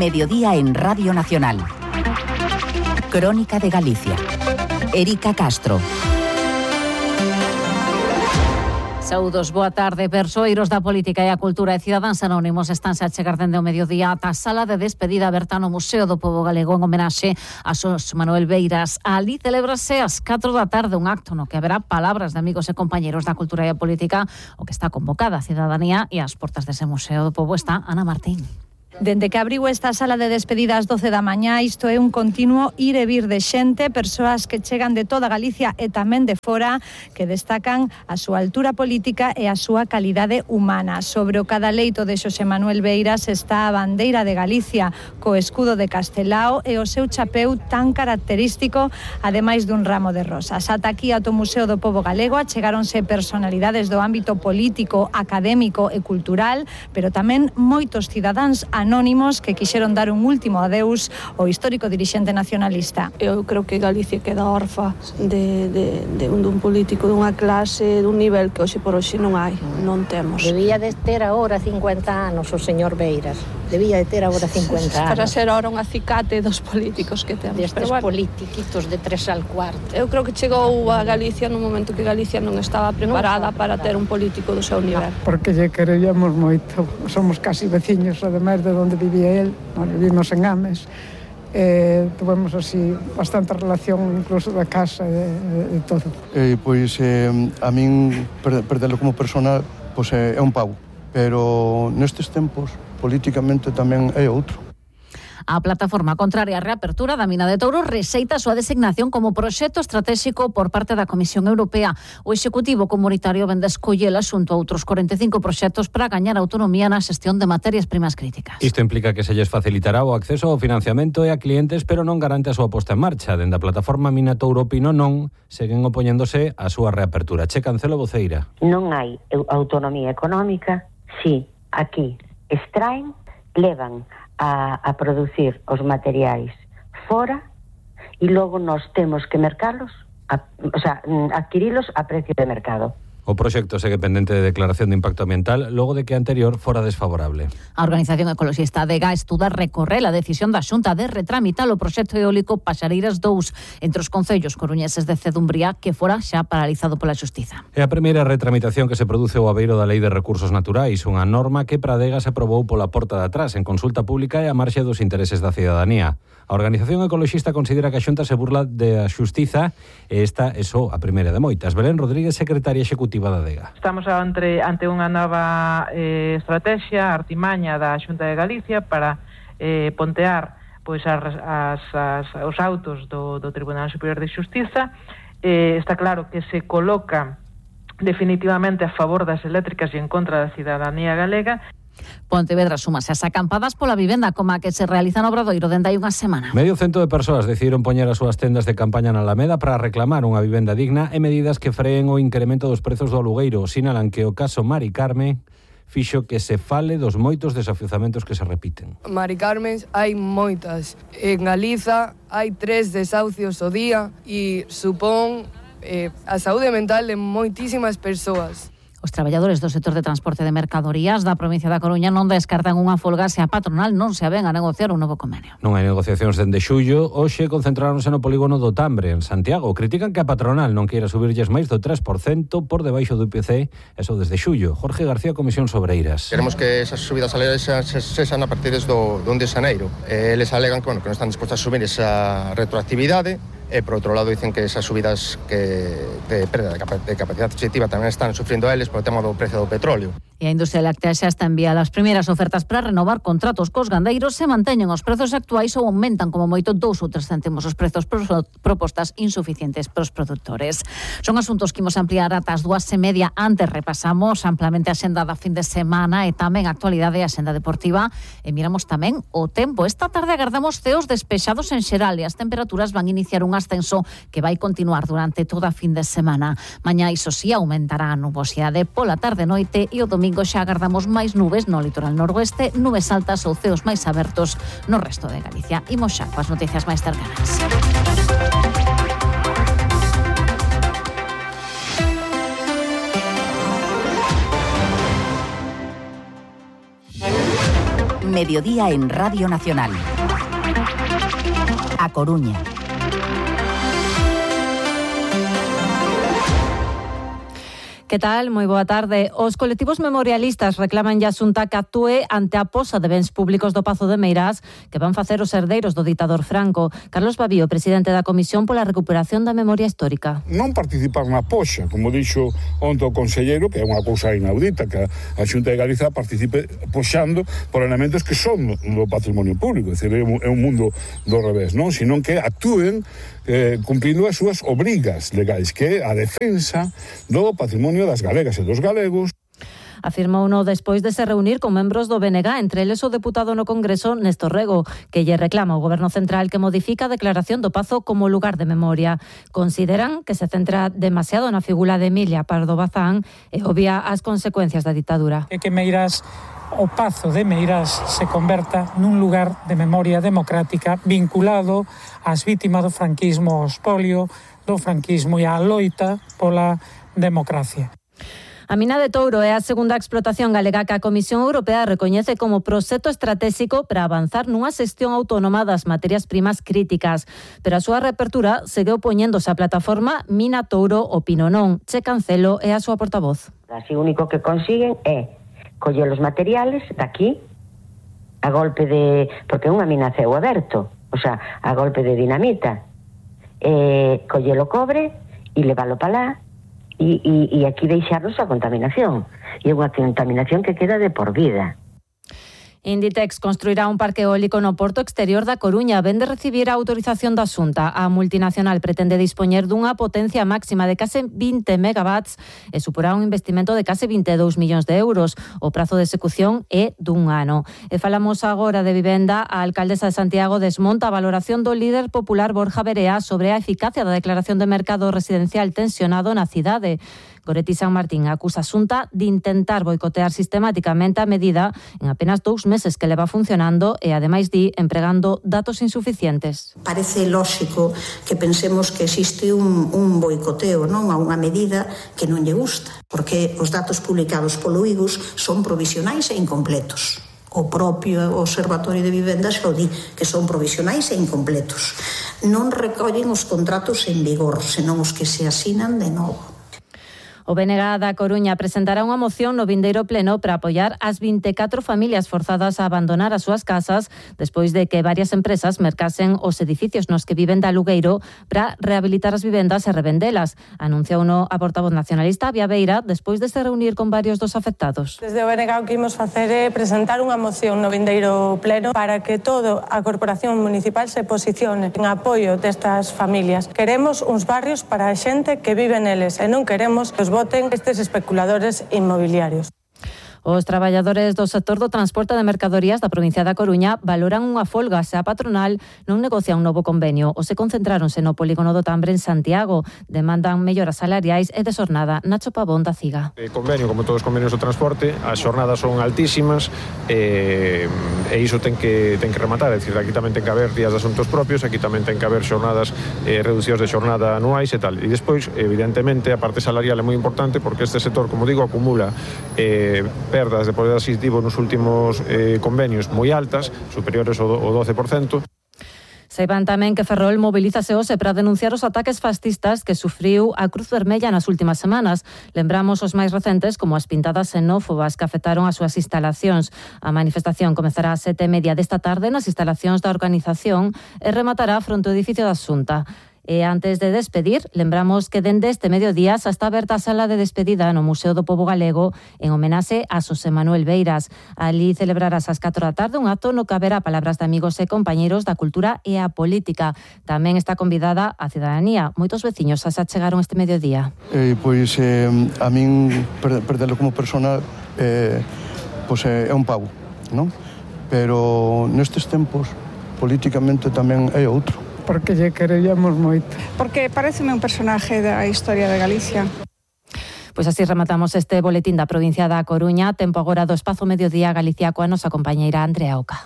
Mediodía en Radio Nacional. Crónica de Galicia. Erika Castro. Saúdos, boa tarde. Persoeiros da política e a cultura e cidadáns anónimos estanse a chegar dende o mediodía ata a sala de despedida aberta no Museo do Pobo Galego en homenaxe a Xosé Manuel Beiras. Ali celébrase ás 4 da tarde un acto no que haberá palabras de amigos e compañeros da cultura e a política, o que está convocada a cidadanía, e ás portas dese Museo do Pobo está Ana Martín. Dende que abriu esta sala de despedida ás 12 da mañá, isto é un continuo ir e vir de xente, persoas que chegan de toda Galicia e tamén de fora, que destacan a súa altura política e a súa calidade humana. Sobre o cadaleito de Xosé Manuel Beiras está a bandeira de Galicia, co escudo de Castelao e o seu chapeu tan característico, ademais dun ramo de rosas. Ata aquí, ata o Museo do Pobo Galego, achegáronse personalidades do ámbito político, académico e cultural, pero tamén moitos cidadáns anónimos que quixeron dar un último adeus ao histórico dirixente nacionalista. Eu creo que Galicia queda orfa dun político dunha clase, dun nivel que hoxe por hoxe non hai, non temos. Debía de ter agora 50 anos o señor Beiras. Debía de ter agora 50 anos. Para ser ahora un acicate dos políticos que temos. Destes politiquitos de 3 al cuarto. Eu creo que chegou a Galicia nun momento que Galicia non estaba preparada para ter un político do seu nivel. Porque lle queríamos moito. Somos casi veciños, ademais de onde vivía él, nós vivimos en Ames, tuvemos así bastante relación incluso da casa e todo. A min perdelo como persona é un pau, pero nestes tempos politicamente tamén é outro. A plataforma contraria á reapertura da mina de Touro rexeita a súa designación como proxecto estratégico por parte da Comisión Europea. O Executivo Comunitario vende escollela xunto a outros 45 proxectos para gañar autonomía na xestión de materias primas críticas. Isto implica que se lles facilitará o acceso ao financiamento e a clientes, pero non garante a súa posta en marcha. Dende a plataforma Mina Touro Pino non seguen opoñéndose á súa reapertura. Che Cancelo Voceira. Non hai autonomía económica, si aquí extraen, levan a producir os materiais fora e logo nós temos que mercalos, adquirilos a precio de mercado. O proxecto segue pendente de declaración de impacto ambiental logo de que a anterior fora desfavorable. A Organización Ecoloxista ADEGA estuda recorrer a decisión da Xunta de retramitar o proxecto eólico Paxareiras 2 entre os concellos coruñeses de Cedumbría, que fora xa paralizado pola Xustiza. É a primeira retramitación que se produce ao abeiro da Lei de Recursos Naturais, unha norma que para ADEGA se aprobou pola porta de atrás en consulta pública e a marxe dos intereses da cidadanía. A Organización Ecoloxista considera que a Xunta se burla da Xustiza e esta é só a primeira de moitas. Belén Rodríguez, secretaria executiva da ADEGA. Estamos ante unha nova estrategia, artimaña da Xunta de Galicia para pontear pois os autos do Tribunal Superior de Xustiza. Está claro que se coloca definitivamente a favor das eléctricas e en contra da cidadanía galega. Pontevedra súmase as acampadas pola vivenda como a que se realiza no Obradoiro dende hai unha semana. Medio cento de persoas decidiron poñer as súas tendas de campaña na Alameda para reclamar unha vivenda digna e medidas que freen o incremento dos prezos do alugueiro. Sinalan que o caso Mari Carmen fixo que se fale dos moitos desafiuzamentos que se repiten. Mari Carmen, hai moitas. En Galiza hai 3 desahucios ao día e supón a saúde mental de moitísimas persoas. Os traballadores do sector de transporte de mercadorías da provincia da Coruña non descartan unha folga se a patronal non se aven a negociar un novo convenio. Non hai negociacións dende xullo. Hoxe concentráronse no polígono do Tambre, en Santiago. Critican que a patronal non queira subirlles máis do 3% por debaixo do IPC, eso desde xullo. Jorge García, Comisión Sobreiras. Queremos que esas subidas salariais sexan a partir do 1 de xaneiro. Eles alegan que non están dispostos a subir esa retroactividade. E, por outro lado, dicen que esas subidas de perda de capacidade adquisitiva tamén están sufrindo eles polo tema do precio do petróleo. E a industria láctea xa está enviada as primeiras ofertas para renovar contratos cos gandeiros. Se manteñen os prezos actuais ou aumentan como moito 2 ou 3 céntimos os prezos propostas insuficientes para os produtores. Son asuntos que imos ampliar ata as 2:30. Antes repasamos amplamente a xenda da fin de semana e tamén a actualidade e a xenda deportiva. E miramos tamén o tempo. Esta tarde agardamos ceos despexados en xeral e as temperaturas van iniciar un ascenso que vai continuar durante toda a fin de semana. Mañá, iso sí, aumentará a nubosidade pola tarde noite e o domingo xa agardamos máis nubes no litoral noroeste, nubes altas ou ceos máis abertos no resto de Galicia. Imos xa coas noticias máis cercanas. Mediodía en Radio Nacional. A Coruña. Que tal? Moi boa tarde. Os colectivos memorialistas reclaman a Xunta que actúe ante a posa de bens públicos do Pazo de Meirás que van facer os herdeiros do ditador Franco. Carlos Babío, presidente da Comisión pola Recuperación da Memoria Histórica. Non participar na poxa, como dixo onte o conselleiro, que é unha cousa inaudita, que a Xunta de Galiza participe poxando por elementos que son do patrimonio público, é dicir, é un mundo do revés, non? Senón que actúen cumprindo as súas obrigas legais, que é a defensa do patrimonio das galegas e dos galegos. Afirmou uno despois de se reunir con membros do BNG, entre eles o deputado no Congreso Néstor Rego, que lle reclama ao Goberno Central que modifica a declaración do Pazo como lugar de memoria. Consideran que se centra demasiado na figura de Emilia Pardo Bazán e obvia as consecuencias da ditadura. É que Meirás, o Pazo de Meirás, se converta nun lugar de memoria democrática vinculado ás vítimas do franquismo, ao expolio do franquismo e á loita pola democracia. A mina de Touro é a segunda explotación galega que a Comisión Europea recoñece como proxecto estratégico para avanzar nunha xestión autónoma das materias primas críticas, pero a súa reapertura segue opoñéndose á plataforma Mina Touro o Pinonón. Che Cancelo é a súa portavoz. Así o único que consiguen é coller os materiales daqui a golpe de... porque é unha mina a ceo aberto, o sea, a golpe de dinamita, coller o cobre e leválo para lá e aquí deixarnos a contaminación. E é unha contaminación que queda de por vida. Inditex construirá un parque eólico no porto exterior da Coruña. Vén de recibir a autorización da Xunta. A multinacional pretende dispoñer dunha potencia máxima de case 20 megawatts e suporá un investimento de case 22 millóns de euros. O prazo de execución é dun ano. E falamos agora de vivenda. A alcaldesa de Santiago desmonta a valoración do líder popular Borja Verea sobre a eficacia da declaración de mercado residencial tensionado na cidade. Goretti San Martín acusa a Xunta de intentar boicotear sistemáticamente a medida en apenas 2 meses que leva funcionando e, ademais, empregando datos insuficientes. Parece lóxico que pensemos que existe un boicoteo, non, a unha medida que non lle gusta, porque os datos publicados polo IGUS son provisionais e incompletos. O propio Observatorio de Vivenda xa o di, que son provisionais e incompletos. Non recollen os contratos en vigor, senón os que se asinan de novo. O BNG da Coruña presentará unha moción no vindeiro pleno para apoiar as 24 familias forzadas a abandonar as súas casas despois de que varias empresas mercasen os edificios nos que viven de alugueiro para rehabilitar as vivendas e revendelas. Anunciou a portavoz nacionalista Via Beira despois de se reunir con varios dos afectados. Desde o BNG o que imos facer é presentar unha moción no vindeiro pleno para que toda a Corporación Municipal se posicione en apoio destas familias. Queremos uns barrios para a xente que vive neles e non queremos que os voten estes especuladores inmobiliarios. Os traballadores do sector do transporte de mercadorías da provincia da Coruña valoran unha folga se a patronal non negocia un novo convenio ou se concentráronse no polígono do Tambre en Santiago. Demandan melloras salariais e de xornada. Nacho Pavón da CIGA. O convenio, como todos os convenios do transporte, as xornadas son altísimas e iso ten que rematar. É dicir, aquí tamén ten que haber días de asuntos propios, aquí tamén ten que haber xornadas reducións de xornada anuais e tal. E despois, evidentemente, a parte salarial é moi importante porque este sector, como digo, acumula perdas de poder adquisitivo nos últimos convenios moi altas, superiores ao 12%. Saiban tamén que Ferrol mobilízase hoxe para denunciar os ataques fascistas que sufriu a Cruz Vermella nas últimas semanas. Lembramos os máis recentes como as pintadas xenófobas que afectaron as súas instalacións. A manifestación comezará ás 7:30 desta tarde nas instalacións da organización e rematará fronte ao edificio da Xunta. E antes de despedir, lembramos que dende este mediodía xa está aberta a sala de despedida no Museo do Pobo Galego en homenaxe a Xosé Manuel Beiras. Ali celebrarás ás 4 da tarde un acto no que haberá palabras de amigos e compañeiros da cultura e a política. Tamén está convidada a cidadanía. Moitos veciños xa se achegaron este mediodía. Pois a min perdelo como persona pois é un pau, non? Pero nestes tempos políticamente tamén é outro. Porque lle queríamos moito. Porque pareceme un personaje da historia de Galicia. Pois así rematamos este boletín da provincia da Coruña. Tempo agora do Espazo Mediodía Galicia coa nosa compañeira Andrea Oca.